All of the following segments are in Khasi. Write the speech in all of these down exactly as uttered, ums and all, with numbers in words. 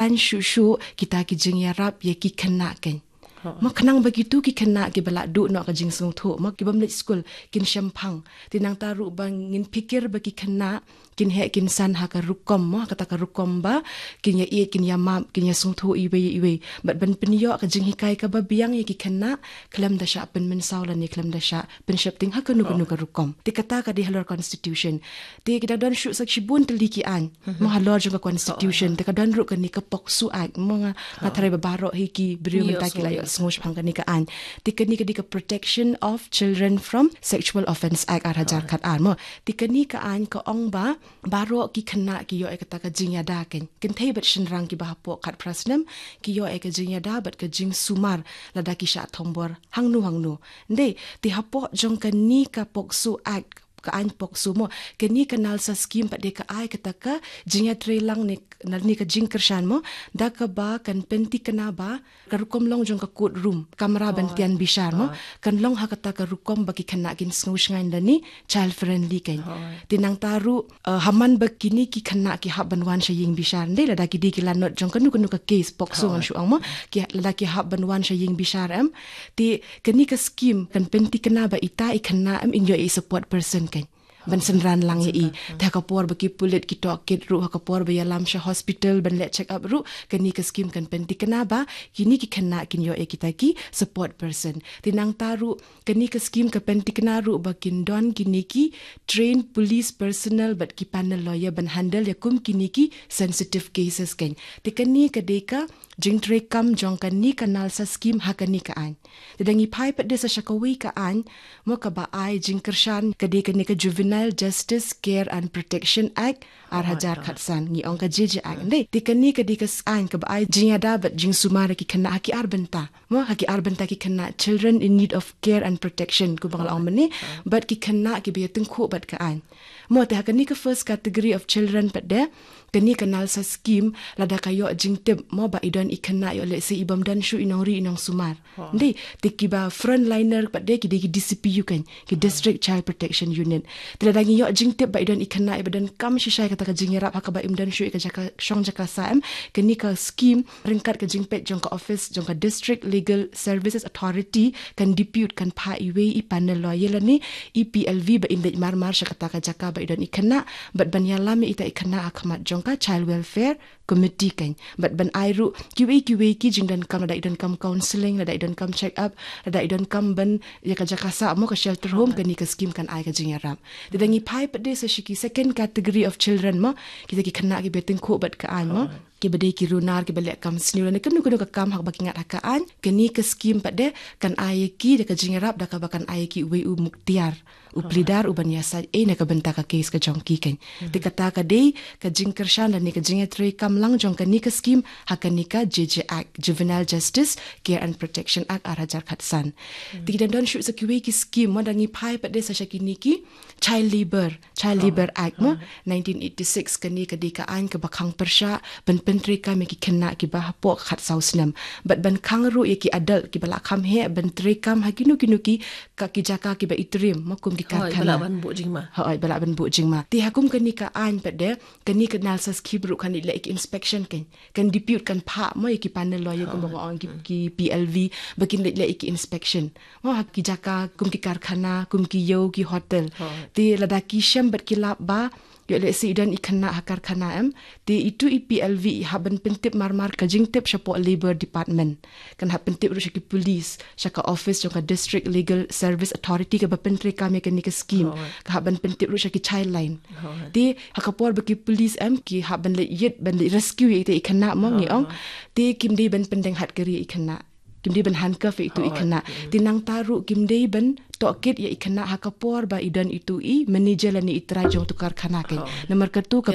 Kan shuh shuh kita ki jingïarap ïa ki khynnah kein. Mo khnang ba kitu ki khynnah kiba la duh noh ka jingsngewthuh, mo kibym leit skul, kin shemphang. Te nangta ruh ba ngin pyrkhat ba ki khynnah kin heh kin san ha ka rukom, mo kata ka rukom ba kin ïa ïeit, kin ïa map, kin ïa sngewthuh iwei ïa iwei. Bad ban pynïoh ka jinghikai kaba biang ïa ki khynnah khlem da shah pynmynsaw lane khlem da shah pynsheptieng ha kano kano ka rukom. Te kata ka dei halor constitution. Te ki dang don shuh sa shibun tylli ki aiñ, mo halor jong ka constitution. Te ka don ruh kane ka POCSO Act, mo nga, nga tharai ba baroh hi ki briew mynta ki la ïohsngew shaphang kane ka aiñ. Te kane ka dei ka Protection of Children from Sexual Offence Act ar hajar khat ar, mo. Te kane ka aiñ ka ong ba baroh ki khynnah ki ïoh ïa kata ka jingïada kein. Kynthei bad shynrang kiba hapoh khatphra snem ki ïoh ïa ka jingïada bad ka jingsumar lada ki shah thombor hangno hangno. Ndei, te hapoh jong kane ka POCSO Act, ka aiñ POCSO, mo, kane ka NALSA scheme pat de ka ai kata ka jingïatreilang ne, ne ka jingkyrshan, mo, da kaba kan pynthikna ba ka rukom long jong ka court room, kamra ban tian bishar, mo, kan long ha kata ka rukom ba ki khynnah kin sngew shngaiñ lane child friendly kein. Te nangta ruh, eh, ha man ba kine ki khynnah ki hap ban wan sha ïing bishar, ndei lada ki dei ki lanot jong kano kano ka case POCSO ngan shu ong, mo, ki, lada ki hap ban wan sha ïing bishar, em, te kane ka scheme kan pynthikna ba ita i khynnah, em, in ïoh i support person kein ban synran lang ïa i. Te ha ka por ba ki pulit ki tohkit ruh, ha ka por ba ïalam sha hospital ban leh check up ruh, kane ka scheme kan pynthikna ba kine ki khynnah kin ïoh ïa kita ki support person. Te nangta ruh kane ka scheme ka pynthikna ruh ba kin don kine ki trained police personnel bad ki panel lawyer ban handle ïa kum kine ki sensitive cases kein. Te kane ka dei ka jingtreikam jong kane ka NALSA scheme ha kane ka aiñ. Te da ngi phai pat de sa sha kawei ka aiñ, mo, kaba ai jingkyrshan, ka dei kane ka Juvenile Justice Care and Protection Act ar hajar khat san, ngi ong ka J J Act, ndei. Te kane ka dei ka aiñ kaba ai jingïada bad jingsumar ïa ki khynnah ha ki ar bynta, mo, ha ki ar bynta, ki khynnah children in need of care and protection, kumba nga la ong mynne, bad ki khynnah kiba ïatyngkhuh bad ka aiñ. Mo, te ha kane ka first category of children pat de, kane ka NALSA scheme lada ka ïoh jingtip, mo, ba i don i khynnah, ïoh lehse i bym don shuh i nongri i nongsumar, ndei, te kiba frontliner pat de ki dei ki D C P U kein, ki District Child Protection Unit. Te lada ngi ïoh jingtip ba i don i khynnah iba donkam shisha ïa kata ka jingïarap ha kaba im don shuh ïa ka jaka shong jaka sah, em, kane ka scheme ryngkat ka jingpeit jong ka office jong ka District Legal Services Authority kan depute, kan phah iwei i panel lawyer lane i P L V ba in leit marmar sha kata ka jaka ba i don i khynnah bad ban ïalam ïa ita i khynnah ha khmat jong ka Child Welfare Committee kein, bad ban ai ruh kiwei kiwei ki jingdonkam, lada i donkam counselling, lada i donkam check up, lada i donkam ban ïa ka jaka sah, mo, ka shelter home, kane ka scheme kan ai ka jingïarap. Te da ngi phai pat de sa sha ki second category of children, mo, kita ki khynnah kiba ïatyngkhuh bad ka aiñ, mo, kiba dei ki runar, kiba leh kam sniew lane kano kano ka kam ha kaba ki ngat ha ka aiñ, kane ka scheme pat de kan ai ïa ki da ka jingïarap da kaba kan ai ïa ki uwei u muktiar, u pleader, u ban ïasaid ei na ka bynta ka case ka jong ki kein. Te kata ka dei ka jingkyrshan lane ka jingïatreikam lang jong kane ka scheme ha kane ka J J Act, Juvenile Justice Care and Protection Act ar hajar khat san. Te ki dang don shuh sa kiwei ki scheme, mo, da ngi phai pat de sa sha kine ki Child Labour, Child Labour Act, mo, nineteen eighty-six, kane ka dei ka aiñ kaba khang pyrshah ban pyntreikam ïa ki khynnah kiba hapoh khatsaw snem bad ban khang ruh ïa ki adult kiba la kham heh ban treikam ha kino kino ki, ka, ki jaka kiba i triem, mo, kum ki karkhana. Hooid, ba lah ban buh jingma. Hooid, ba lah ban buh jingma. Te ha kum kane ka aiñ pat de, kane ka NALSA scheme ruh kan leit leh ïa ki inspection kein, kan depute, kan phah, mo, ïa ki panel lawyer, kumba nga ong, ki, ki P L V ba kin leit leh ïa ki inspection, mo, ha ki jaka kum ki karkhana, kum ki ïew, ki hotel. Te lada ki shem bad ki lap ba ïoh lehse i don i khynnah ha karkhana, em, te itu i P L V i hap ban pyntip marmar ka jingtip shapoh Labour Department, kan hap pyntip ruh sha ki police, sha ka office jong ka District Legal Service Authority kaba pyntreikam ïa kane ka scheme, ka hap ban pyntip ruh sha ki Childline. Te ha ka por ba ki police, em, ki hap ban leit ïit, ban leit rescue ïa ita i khynnah, mo, ngi ong, te kim dei ban pyndeng hatkari ïa i khynnah, kim dei ban handcuff ïa itu i khynnah. Te nangta ruh kim dei ban tohkit ïa i khynnah ha ka por ba i don itu i manager lane i trai jong utu karkhana kein. Namar katu ka,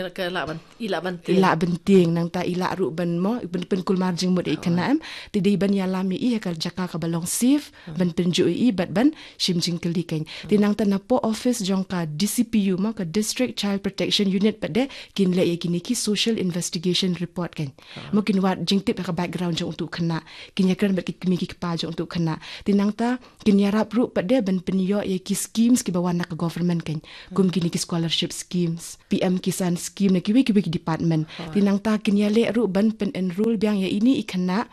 i lah ban tieng, nangta i lah ruh ban, mo, ban pynkulmar jingmut ïa i khynnah, em. Te dei ban ïalam ïa i ha ka jaka kaba long safe, ban pynjot ïa i bad ban shim jingkylli kein. Te nangta napoh office jong ka D C P U, mo, ka District Child Protection Unit pat de kin leh ïa kine ki social investigation report kein. Mo, kin wad jingtip ha ka background jong utu u khynnah, kin ïakren bad ki kmie ki kpa jong utu u khynnah. Te nangta kin ïarap ruh pat de ban pynïoh ïa ki schemes kiba wan na ka government kein. Kum kine ki scholarship schemes, P M Kisan scheme, na kiwei kiwei ki department. Te nangta kin ïaleh ruh ban pyn-enroll biang ïa ine i khynnah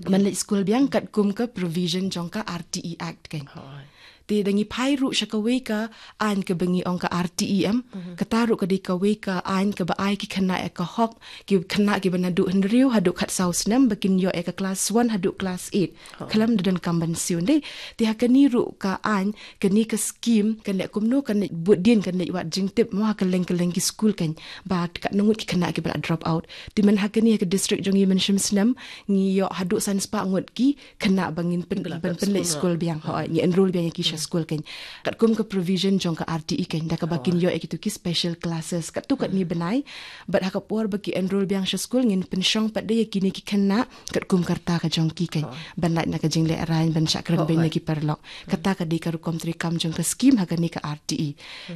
ban leit skul biang katkum ka provision jong ka R T E Act kein. Te da ngi phai ruh sha kawei ka aiñ kaba ngi ong ka R T E M, kata ruh ka dei kawei ka aiñ kaba ai ki khynnah ïa ka hok, ki khynnah kiba naduh hynriew haduh khatsaw snem ba kin ïoh ïa ka class one haduh class eight. Khlem da donkam ban siew, ym dei? Te ha kane ruh ka aiñ, kane ka scheme kan leh kumno, kan leh bud dien, kan leh wad jingtip mo ha kylleng kylleng ki skul kein, ba katno ngut ki khynnah kiba la drop out. Te mynta ha kane ha ka district jong ngi mynshwa snem ngi ïoh haduh san spah ngut ki khynnah ba ngin pyn, ban pynleit skul biang, hooid, ngi enroll biang ïa ki sha skul kein. Katkum ka provision jong ka R T E kein, da kaba kin ïoh ïa kitu ki special classes katto katne bnai. Bad ha ka por ba ki enroll biang sha skul ngin pynshong pat de ïa kine ki khynnah katkum ka rta ka jong ki kein. Ban lait na ka jinglehrain, ban shah kren beiñ na ki paralok. Kata ka dei ka rukom treikam jong ka scheme ha kane ka R T E.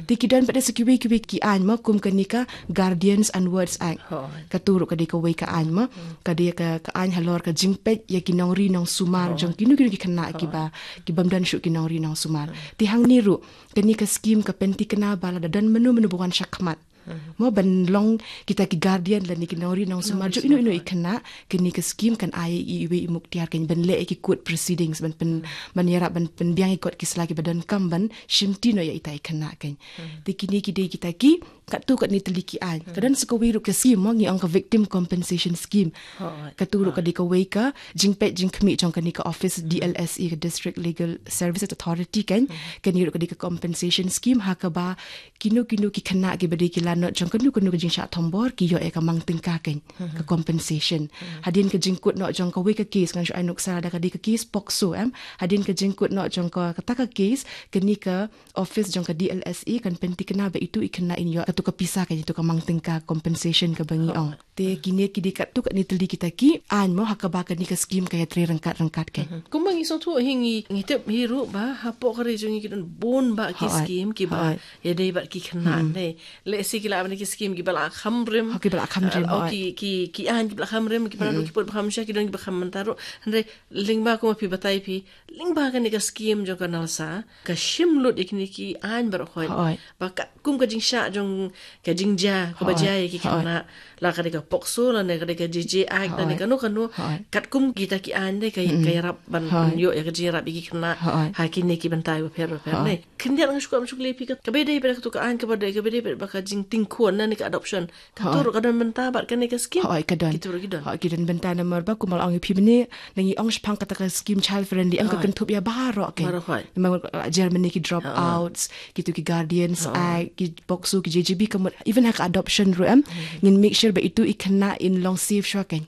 Te ki don pat de sa kiwei kiwei ki aiñ mo, kum kane ka Guardians Onwards Act. Katu ruh ka dei kawei ka aiñ mo. Ka dei ka, ka aiñ halor ka jingpeit ïa ki nongri nongsumar jong kino kino ki khynnah kiba, ki bym don shuh ki nongri nongsumar. Te hangne ruh kane ka scheme ka pynthikna ba lada don mano mano ba wan shakhmat, mo, ban long kita ki guardian lane ki nongri nongsumar jong ino ino i khynnah, kane ka scheme kan ai iwei i muktiar kein ban leh ïa ki court proceedings, ban pyn, ban ïarap ban pynbiang ïa kot ki sla kiba donkam ban shimti noh ïa ita i khynnah kein. Te kine ki dei kita ki katto katne tylli ki aiñ. Ka don sa kawei ruh ka scheme mo, ngi ong ka Victim Compensation Scheme. Katu ruh ka dei kawei ka jingpeit jingkhmih jong kane ka office D L S A, ka District Legal Services Authority kein. Kane ruh ka dei ka compensation scheme ha kaba kino kino ki khynnah kiba dei ki lanot jong kano kano ka jingshah thombor ki ïoh ïa ka mang tyngka kein, ka compensation. Hadien ka jingkut noh jong kawei ka case, ngan shu ai nuksa, da ka dei ka case POCSO, em. Hadien ka jingkut noh jong ka, kata ka case, kane ka office jong ka D L S A kan pynthikna ba itu i khynnah in ïoh katu ka pisa kein, itu ka mang tyngka compensation kaba ngi ong. Te kine ki dei katto katne tylli kita ki aiñ mo ha kaba kane ka scheme ka ïatrei ryngkat ryngkat kein. Kumba ngi sngewthuh hi, ngi, ngi tip hi ruh ba hapoh ka ri jong ngi ki don bun bah ki scheme kiba ïadei bad ki khynnah, ne. Lehse ki lah ban ki scheme kiba la kham rim. Ki ba la kham rim, ki, ki, ki aiñ kiba la kham rim, kiba naduh ki pud ba kham sha, ki don kiba kham mynta ruh. Hynrei lyngba kumba phi batai phi, lyngba kane ka scheme jong ka NALSA, ka shim lut ïa kine ki aiñ baroh khoit. Ba katkum ka jingshah jong ka jingjia kaba jia ïa ki khynnah, la ka dei ka POCSO, lane ka dei ka J J Act, lane kano kano, katkum kita ki aiñ de ka, ka ïarap ban pynïoh ïa ka jingïarap ïa ki khynnah ha kine ki bynta bapher bapher, ne. Khyndiat nga shu kwah ban shu kylli phi, kaba dei pat katu ka aiñ kaba dei, kaba dei pat ba ka jingtieng khun, lane ka adoption, katu ruh ka don bynta bad kane ka scheme? Hooid, ka don. Kitu ruh ki don. Hooid, ki don bynta namar ba kumba la ong ïa phi mynne, ngi ong shaphang kata ka scheme child friendly, em, ka kynthup ïa baroh kein. Baroh, hooid. Namar la jer mynne ki Dropout, kitu ki Guardians Act, ki POCSO, ki J J B, ka mut even ha ka adoption ruh, em, ngin make sure ba itu i khynnah in long safe shuwa kein.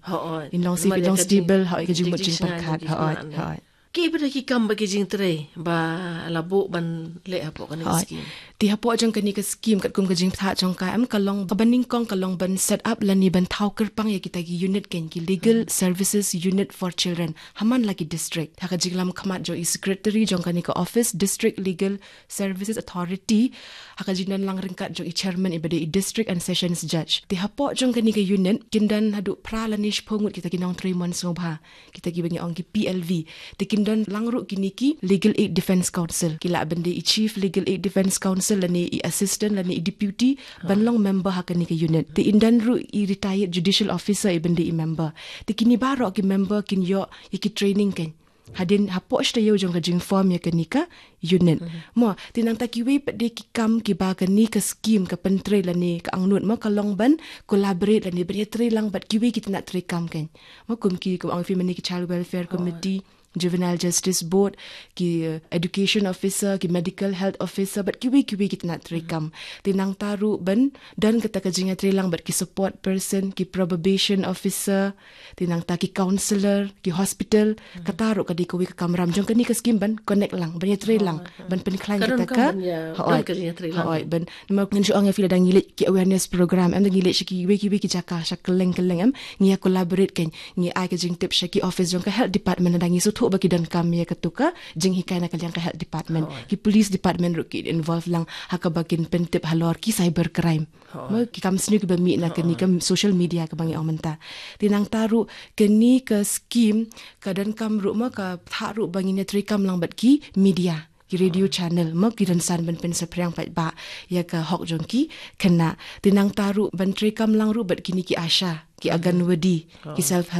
In long safe, in long stable, hooid, ka jingmut jingpyrkhat, hooid, hooid. Ki bad ki kam bad ki jingtrei ba la buh ban leh hapoh kane ka scheme? Te hapoh jong kane ka scheme katkum ka jingpyntip jong ka, em, ka long kaba nyngkong ka long ban set up lane ban thaw kyrpang ïa kita ki unit kein, ki Legal Services Unit for Children ha man la ki district. Ha ka jinglam khmat jong i secretary jong kane ka office, District Legal Services Authority, ha ka jingdon lang ryngkat jong i chairman iba dei i District and Sessions Judge. Te hapoh jong kane ka unit kin don haduh phra lane shiphew ngut kita ki nongtrei mon sngewbha, kita kiba ngi ong ki P L V. Te kin don lang ruh kine ki Legal Aid Defence Counsel, ki lah ban dei i Chief Legal Aid Defence Counsel lane i Assistant lane i Deputy, ban long member ha kane ka unit. Te in don ruh i retired judicial officer iban dei i member. Te kine baroh ki member kin ïoh ïa ki training kein hadien hapoh shi taïew jong ka jingform ïa kane ka unit. Mo, te nangta kiwei pat de ki kam kiba kane ka scheme ka pyntrei lane ka angnud mo, ka long ban collaborate lane ban ïatrei lang bad kiwei ki tnat treikam kein. Mo, kum ki, kum ong phi mynne, ki Child Welfare Committee, Juvenile Justice Board, ki, eh, Education Officer, ki Medical Health Officer, bad kiwei kiwei ki tnat treikam. Te nangta ruh ban don kata ka jingïatrei lang bad ki support person, ki probation officer, te nangta ki counsellor, ki hospital, kata ruh ka dei kawei ka kamram jong kane ka scheme ban connect lang, ban ïatrei lang, ban pynkhlaiñ kata ka. Hooid, ban, namar ngan shu ong ïa phi, lada ngi leit ki awareness program, em, da ngi leit sha kiwei kiwei ki jaka, sha kylleng kylleng, em, ngi ïa collaborate kein, ngi ai ka jingtip sha ki office jong ka health department, lada ngi sngewthuh ba ki donkam ïa katu ka jinghikai na ka liang ka health department. Ki police department ruh ki involve lang ha kaba kin pyntip halor ki cyber crime. Mo, ki kam sniew kiba mih na kane ka social media kaba ngi ong mynta. Te nangta ruh kane ka scheme ka donkam ruh mo, ka thah ruh ba ngin ïatreikam lang bad ki media. ki radio channel, mo, ki rynsan ban pynsaphriang pat ba ïa ka hok jong ki khynnah. Te nangta ruh ban treikam lang ruh bad kine ki ASHA, ki Anganwadi, ki self help